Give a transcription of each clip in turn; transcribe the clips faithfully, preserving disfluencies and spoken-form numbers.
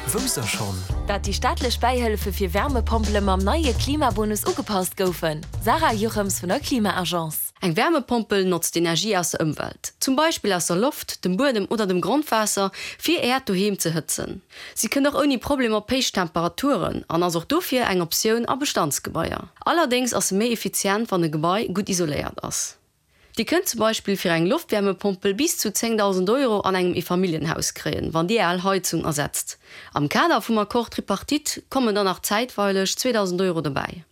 Wousst der schonn? Dat déi staatlech Bäihëllefe fir Wärmepompele mam neie Klimabonus ugepasst goufen? Sarah Jochems vun der Klima-Agence. Eng Wärmepompel notzt Energie aus der Ëmwelt, zum Beispill aus der Loft, dem Buedem oder dem Grondwaasser, fir Äert Doheem ze hëtzen. Si kënnt och ouni Problem op héich Temperaturen an ass och dofir eng Optioun a Bestandsgebaier. Allerdéngs ass se méi effizient, wann e Gebai gutt isoléiert ass. Dir kënnt zum Beispill fir eng Loftwärmepompel bis zu zéngdausend Euro an engem Eefamilljenhaus kréien, wann Dir Är al Heizung ersetzt. Am Kader vum Accord tripartite kommen dann nach zäitweileg zweedausend Euro dobäi.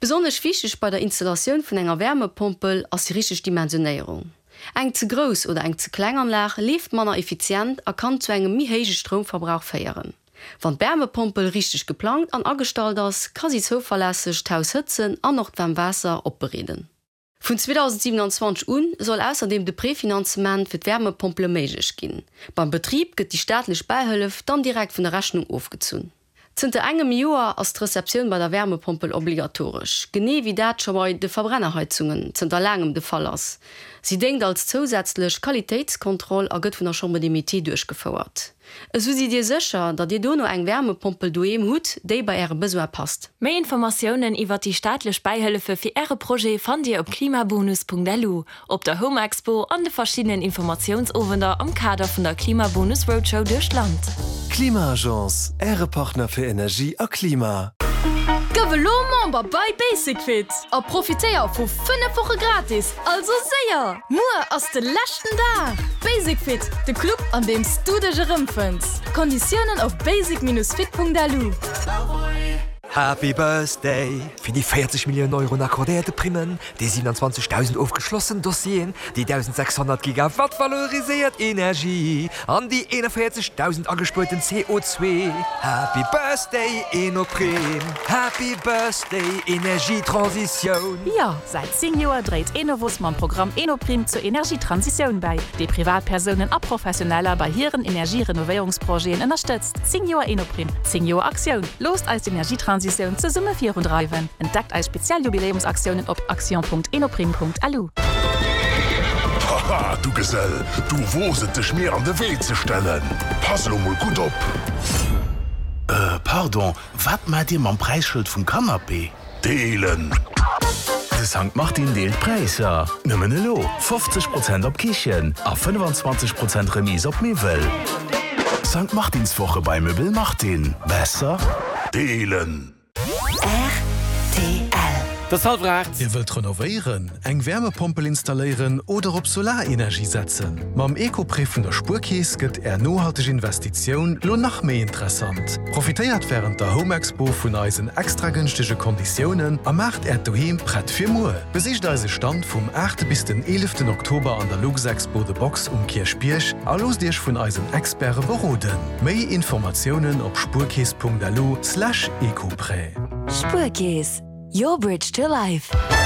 Besonnesch wichteg bei der Installatioun vun enger Wärmepompel ass déi richteg Dimensionéierung. Eng ze grouss oder eng ze kleng Anlag leeft manner effizient a kann zu engem méi héije Stroumverbrauch féieren. Wann d'Wärmepompel richteg geplangt an agestallt ass, ka si zouverlässeg d'Haus hëtzen an och d'waarmt Waasser opbereeden. Vun zweedausendsiewenanzwanzeg un soll ausserdeem de Prefinanzement fir d'Wärmepompele méiglech ginn. Beim Betrib gëtt déi staatlech Bäihëllef dann direkt vun der Rechnung ofgezunn. Zënter engem Joer ass d'Receptioun bei der Wärmepompel obligatoresch, genee wéi dat scho bei de Verbrennerheizungen zënter laangem de Fall ass. Si déngt als zousätzlech Qualitéitskontroll a gëtt vun der Chambre des Métiers duerchgefouert. Esou sidd Dir sécher, datt Dir dono eng Wärmepompel doheem hutt, déi bei Äre Besoin passt. Méi Informatiounen iwwer déi staatlech Bäihëllefe fir Äre Projet fannt Dir op klimabonus Punkt L U, op der Home Expo an de verschiddenen Informatiounsowender am Kader vun der Klimabonus Roadshow duerch d'Land. Klima-Agence, Äre Partner fir Energie a Klima. Gëff elo Member bei Basic Fit a profitéier vu fënnef Woche gratis, also séier! Muer ass de leschten Dag! Basic Fit, de Club an deem s du dech erëmfënns. Konditiounen op basic Bindestrich fit Punkt L U. Happy Birthday! Fir déi véierzeg Milliounen Euro accordéierte Primmen, déi siewenundzwanzegdausend ofgeschlossen Dossieren, déi dausendsechshonnert Gigawatt valoriséiert Energie an déi eenevéierzegdausend agespuerten C O zwee. Happy Birthday Enoprim! Happy Birthday Energietransitioun! Jo, säit zéng Joer dréit Enovos mam Programm Enoprim zur Energietransitioun bäi, dee Privatpersounen a Professioneller bei hiren Energierenovéierungsprojeten ënnerstëtzt. Zéng Joer Enoprim, zéng Joer Aktioun. Loosst eis d'Energietransitioun zesumme virundreiwen. Entdeckt eis speziell Jubiläumsaktiounen op action Punkt enoprim Punkt L U. Haha, du Gesell, du woos et dech mir an de Wee ze stellen. Pass lo mol gutt op. Äh, pardon, wat maacht Dir mam Präisschëld vum Canapé? Deelen. De Sankt Martin deelt Präisser. Nëmmen elo fofzeg Prozent op Kichen a fënnefenzwanzeg Prozent Remise op Miwwel. Sankt Martinswoche bei Möbel Martin. Besser deelen. R T L. Et ass hallwer aacht. Dir wëllt renovéieren, eng Wärmepompel installéieren oder op Solarenergie setzen? Mam Ecoprêt vun der Spuerkeess gëtt Är nohalteg Investitioun lo nach méi interessant. Profitéiert wärend der Home Expo vun eisen extra gënschtege Konditiounen a maacht Äert Doheem prett fir muer. Besicht eise Stand vum aachte bis den eeleften Oktober an der Luxexpo The Box um Kierchbierg a loosst Iech vun eisen Experte beroden. Méi Informatiounen op spuerkeess Punkt L U slash ecoprêt. Spuerkeess, your bridge to life.